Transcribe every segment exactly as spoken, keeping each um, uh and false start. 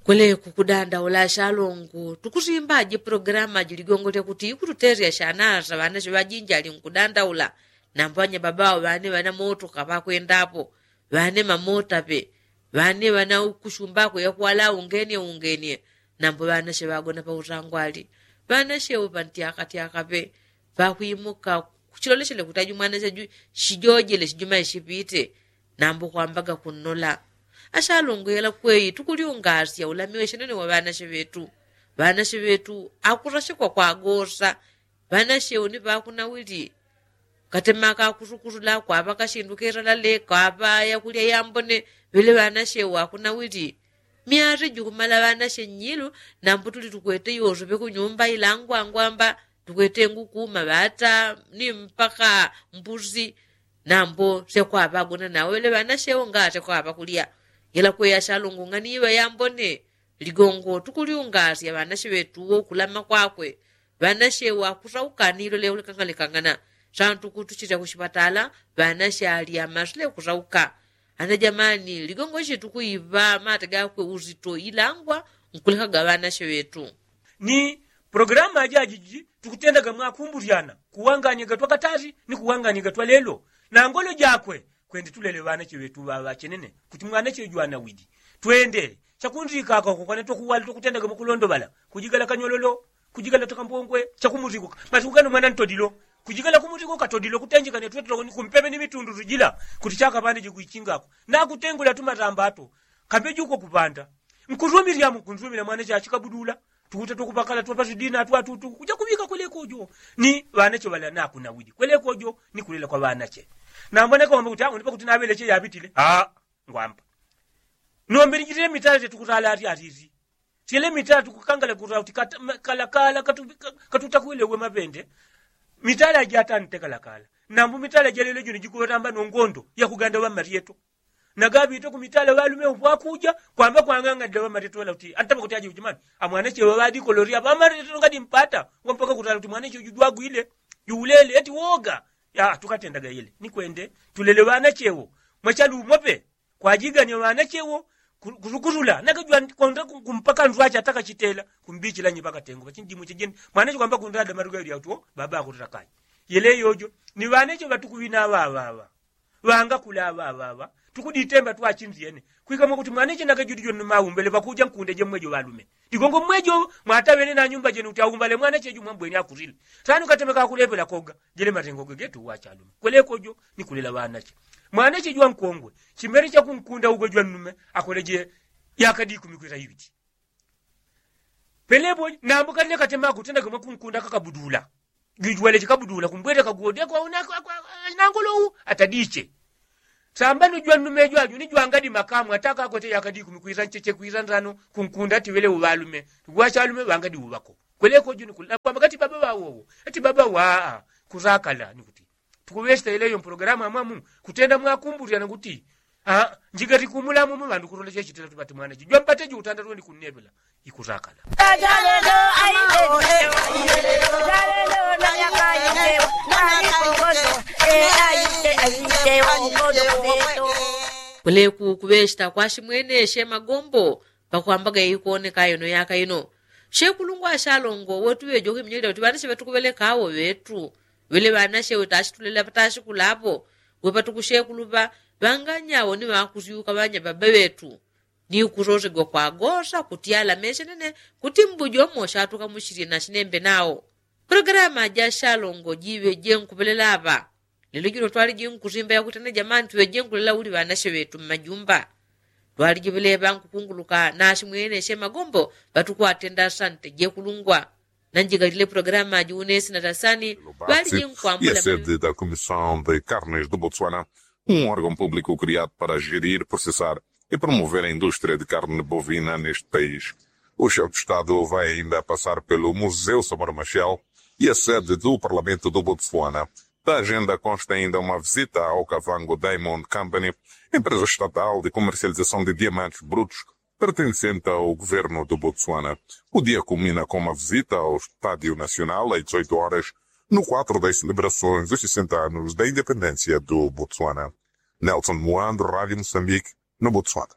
Kweleku kudandaula ashalongo tukusimbaji pulogalamu aji ligongo lyakuti ikututesya shanasa ŵanache ŵajinji ali nkudandaula. Nambo anyababa awo ŵane ŵana motoka ŵakwendapo, ŵane mamota pe, ŵane ŵana kusumbako yakwala ungenye ungenye. Nambo ŵanache ŵagona pautangwali, ŵanache upa ntyakatyaka pe. Pakwimuka kuchilolechele kuti aju mwanache aju shijojele shijuma ishipite. Nambo kwambaga kunnola ashalongo yela kweyi tukulyungasya ulamiwe shenene wa ŵanache ŵetu. Ŵanache ŵetu akurashikwa kwagosa. Ŵanache uni ŵakunawili katemaka kusukusula kwava kashindu keralale kwava yakulya yambone. Ŵele ŵanache wakunawili myate jukumala ŵanache nyilu. Nambo tuli tukwete yoso ŵekunyumba ilangwangwamba tukwete nguku maŵata ni mpaka mbusi. Nambo syakwava agona nawo ŵele ŵanache wo ngate kwava kulya. Yela kweyi ashalongo ng'aniiŵa yambone. Ligongo tukulyungasya ŵanache ŵetu wo kulama kwakwe. Ŵanache wakusauka nilo leulekangalekangana. Santu kutuchilya kushipatala ŵanache ali amasile kusauka. Ana jamani ligongo ichi tukuiŵa mate gakwe uzito ilangwa nkulekaga ŵanache ŵetu. Ni pulogalamu ajajiji tukutendaga mwakumbulyana kuwanganyaga twakatali ni kuwanganyaga twalelo. Na ngolo jakwe kwende tulele ŵanache ŵetu ŵaŵachenene kuti mwanache jwanawidi. Twende chakunzikaka uko kwane twakuwali twakutendaga mwakulondoŵala kujigala kanyololo kujigala takambongwe. Chakumuziko masi kukana mwana ntodilo kujigala kumuziko katodilo kutenjekane twetuloni kumpepe ni mitundu tujila. Kuti chakaŵandeje kuichingako nakutengula tumatamba ato kambeji uko kupanda. Nkusumilyamu nkusumila mwana chachikabudula tukuta twakupakala twapasi dina atwatutu kuja kuŵika kwelekojo. Ni ŵanache ŵala nakunawidi kwelekojo ni kulela kwa ŵanache. Nambona kawamba kuti awo nipakuti naŵeleche yaŵitile aa ngwamba. Nombe nijitile mitala tetukusala ati atizi. Tyele mitala tukukangala kutala kuti kalakala katutakwile uwe maŵende. Mitala jatante kalakala. Nambu mitala jalelo juni jikuŵetamba nongondo yakuganda ŵamalyeto. Nagaŵite kumitala ŵalume upwakuja kwamba kwang'ang'anila ŵamalyeto ŵala kuti antapa kuti aje ujimani amwanache ŵaŵadikoloria ŵamalyeto ngadi mpata. Ngwampaka kutala kuti mwanache uju jwagwile juulele eti woga. Ya tukatendaga yele ni kwende tulele ŵanache wo mwachalumo pe. Kwajigania ŵanache wo kusukusula nakajwa konda kumpaka nzwache atakachitela kumbichila nyi pakatengo pachinjimu chijeni. Mwanache kwamba kundada maruga yuli auti wo baba akutila kanya. Yele yojo ni ŵanache ŵatukuŵina ŵaŵaŵa ŵangakula ŵaŵaŵa. Tukuditemba twachinzyene kwikamo kuti mwanache nakajuli joni maumbele ŵakuja nkunde jemwejo ŵalume. Ligongo mmwejo mwataŵene na nyumba jeni kuti aumbale mwanache jumwambweni akulile. Sanu katemeka akulepela koga jele matengo gegetu wachalume kwelekojo ni kulela ŵanache. Mwanache jwankongwe chimbele chakunkunda ugo jwannume akoleje yakadi ikumi kwisa iŵiti. Pelepo nambo kali nekatemaka kutenda kamwe kunkunda kakabudula. Jujwale chikabudula kumbwele kagode kwauna nangolowu atadiche. Sambano jwannume jwaju ni jwangadi makamu atakakwete yakadi ikumi kwisa ncheche kwisa nsano kunkunda ati ŵele uŵalume. Tukuŵachalume ŵangadi uŵako kweleko juni kuli nakwamba kati baba ŵawowo ati baba waa. Kusakala ni kuti tukuŵesita ileyo mpologalamu amwamu kutenda mwakumbulyana kuti njigati kumulamu mu ŵandu kulola chechitila tupati mwana jijwa mpate jutanda tuwendi kunnepela. Ikusakala. Kweleku kuŵesita kwashimweneshe magombo pakwambaga ikoneka ino yaka ino. Shekulungwa ashalongo wotuŵejoka iminyalila kuti ŵanache ŵatukuŵeleka awo ŵetu ŵele ŵanache wetashitulela patashikulapo. Wepatukushekuluŵa ŵanganyawo ni ŵakusyuka ŵanyababa ŵetu ni kusosegwa kwagosa kuti alameshe nene kuti mbujomo shatukamushilye nashinembe nawo. Pologalama ja shalongo jiŵe jenkupelela aŵa. Lelo jino twaliji nkusimba yakuti ane jamani tuŵe jenkulela uli ŵanache ŵetu mmajumba. Twaliji ŵeleŵa nkukunguluka nashimweneshe magombo ŵatukwatenda asante jekulungwa. Nanjigalile pologalama juwunesi na tasani ŵaliji nkwambula. Sede da comissão de carnes do botswana, um órgão público criado para gerir processar e promover a indústria de carne bovina neste país. O chefe de estado vai ainda passar pelo museu samora machel e a sede do parlamento do botswana. Da agenda consta ainda uma visita ao cavango diamond company, empresa estatal de comercialização de diamantes brutos pertencente ao governo do botswana. O dia culmina com uma visita ao estádio nacional às dezoito horas, no quadro das celebrações dos sessenta anos da independência do botswana. Nelson muando rádio moçambique, no botswana.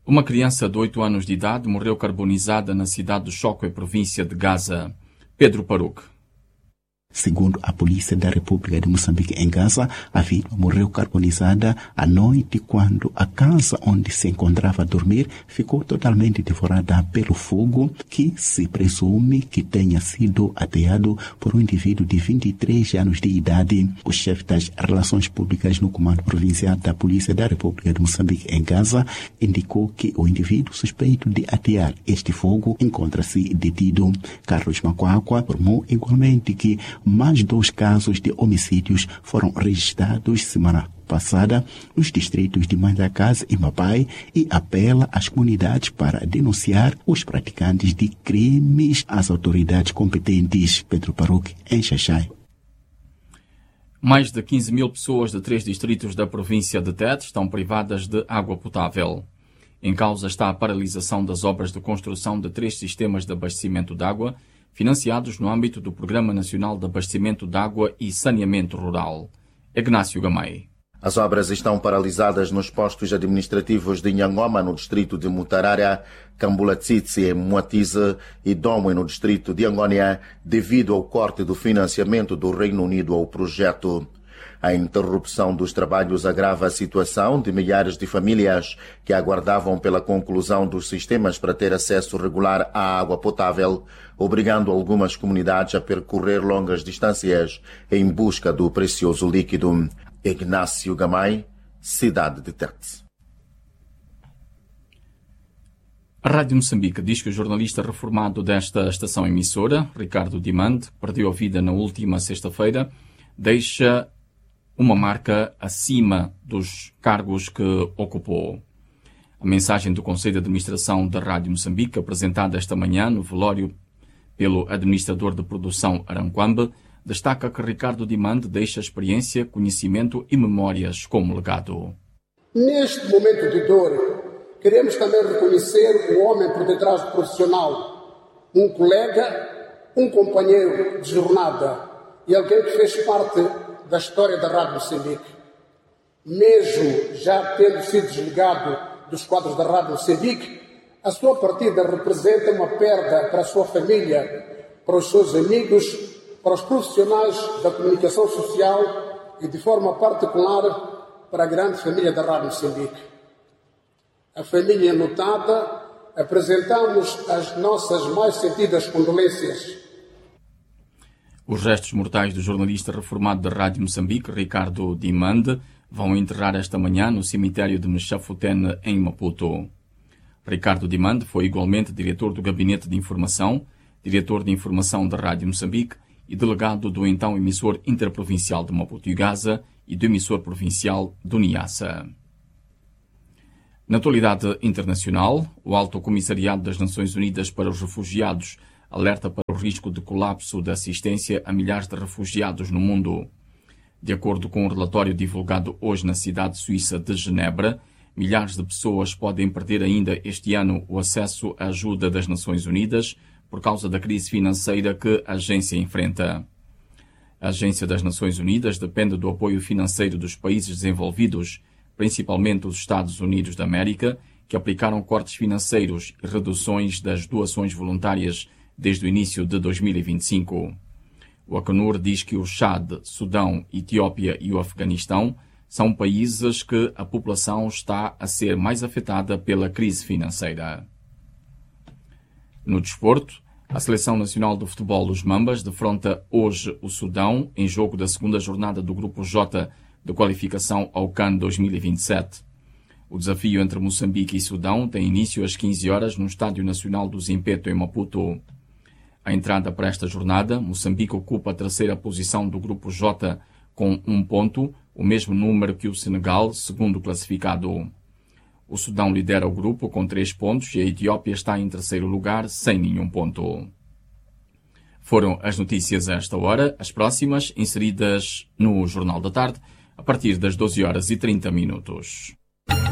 Uma criança de oito anos de idade morreu carbonizada na cidade de Choco, em província de Gaza. Pedro Paruc. Segundo a polícia da república de moçambique em gaza, a vítima morreu carbonizada à noite quando a casa onde se encontrava a dormir ficou totalmente devorada pelo fogo, que se presume que tenha sido ateado por um indivíduo de vinte e três anos de idade. O chefe das relações públicas no comando provincial da polícia da república de moçambique em gaza indicou que o indivíduo suspeito de atear este fogo encontra-se detido. Carlos Macuacua informou igualmente que mais dois casos de homicídios foram registrados semana passada nos distritos de Mandacas e Mapai e apela às comunidades para denunciar os praticantes de crimes às autoridades competentes. Pedro Paruc, em Xaxai. Mais de quinze mil pessoas de três distritos da província de Tete estão privadas de água potável. Em causa está a paralisação das obras de construção de três sistemas de abastecimento de água, financiados no âmbito do Programa Nacional de Abastecimento de Água e Saneamento Rural. Ignácio Gamay. As obras estão paralisadas nos postos administrativos de Nhangoma, no distrito de Mutarara, Cambulatsitsi, em Muatize, e Domwe, no distrito de Angônia, devido ao corte do financiamento do Reino Unido ao projeto. A interrupção dos trabalhos agrava a situação de milhares de famílias que aguardavam pela conclusão dos sistemas para ter acesso regular à água potável, obrigando algumas comunidades a percorrer longas distâncias em busca do precioso líquido. Ignácio Gamay, cidade de Tete. A Rádio Moçambique diz que o jornalista reformado desta estação emissora, Ricardo Dimande, perdeu a vida na última sexta-feira, deixa uma marca acima dos cargos que ocupou. A mensagem do Conselho de Administração da Rádio Moçambique, apresentada esta manhã no velório pelo administrador de produção Aranquambe, destaca que Ricardo Dimande deixa experiência, conhecimento e memórias como legado. Neste momento de dor, queremos também reconhecer o homem por detrás do profissional, um colega, um companheiro de jornada e alguém que fez parte da história da Rádio Moçambique. Mesmo já tendo sido desligado dos quadros da Rádio Moçambique, a sua partida representa uma perda para a sua família, para os seus amigos, para os profissionais da comunicação social e, de forma particular, para a grande família da Rádio Moçambique. A família enlutada, apresentamos as nossas mais sentidas condolências. Os restos mortais do jornalista reformado da Rádio Moçambique, Ricardo Dimande, vão enterrar esta manhã no cemitério de Mexafutene, em Maputo. Ricardo Dimande foi igualmente diretor do Gabinete de Informação, diretor de Informação da Rádio Moçambique e delegado do então emissor interprovincial de Maputo e Gaza e do emissor provincial do Niassa. Na atualidade internacional, o Alto Comissariado das Nações Unidas para os Refugiados alerta para o risco de colapso da assistência a milhares de refugiados no mundo. De acordo com um relatório divulgado hoje na cidade suíça de Genebra, milhares de pessoas podem perder ainda este ano o acesso à ajuda das Nações Unidas por causa da crise financeira que a agência enfrenta. A Agência das Nações Unidas depende do apoio financeiro dos países desenvolvidos, principalmente os Estados Unidos da América, que aplicaram cortes financeiros e reduções das doações voluntárias desde o início de dois mil e vinte e cinco. O acnur diz que o Chad, Sudão, Etiópia e o Afeganistão são países que a população está a ser mais afetada pela crise financeira. No desporto, a Seleção Nacional de Futebol, os Mambas, defronta hoje o Sudão em jogo da segunda jornada do Grupo J de qualificação ao can dois mil e vinte e sete. O desafio entre Moçambique e Sudão tem início às quinze horas no Estádio Nacional do Zimpeto, em Maputo. A entrada para esta jornada, Moçambique ocupa a terceira posição do Grupo J com um ponto, o mesmo número que o Senegal, segundo classificado. O Sudão lidera o grupo com três pontos e a Etiópia está em terceiro lugar, sem nenhum ponto. Foram as notícias a esta hora. As próximas, inseridas no Jornal da Tarde, a partir das doze horas e trinta minutos.